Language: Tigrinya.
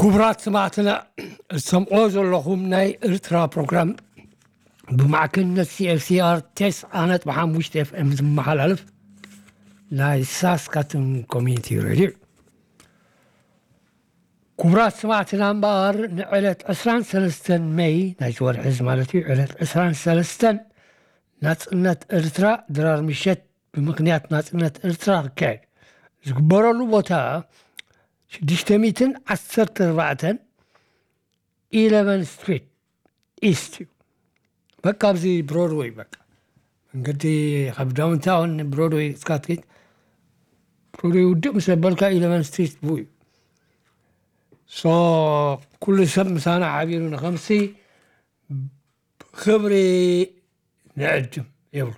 ክቡራት ሰማዕትና፣ እትሰምዕዎ ዘለኹም ናይ ኤርትራ ፕሮግራም ብማዕከንነት CFCR ተስዓ ነጥቢ ሓሙሽተ FM ዝመሓላለፍ ናይ ሳስካቱን ኮሚኒቲ ሬድዮ እዩ። ክቡራት ሰማዕትና እምበኣር፣ ንዕለት ዕስራን ሰለስተን መይ ናይዚ ወርሒ እዚ ማለት እዩ፣ ዕለት ዕስራን ሰለስተን ናጽነት ኤርትራ ድራር ምሸት ብምኽንያት ናጽነት ኤርትራ ክካየድ ዝግበረሉ ቦታ ሽዱሽተ ሚእትን ዓሰርተ ኣርባዕተን ኢለቨን ስትሪት ኢስት እዩ። በቃ ኣብዚ ብሮድወይ፣ በቃ መንገዲ ካብ ዳውንታውን ብሮድወይ እስካ ትከይድ፣ ብሮድወይ ውድእ ምስ ኣበልካ ኢለቨን ስትሪት ብኡ እዩ። ሶ ኩሉ ሰብ ምሳና ሓቢሩ ንኸምሲ ክብሪ ንዕድም ይብሉ።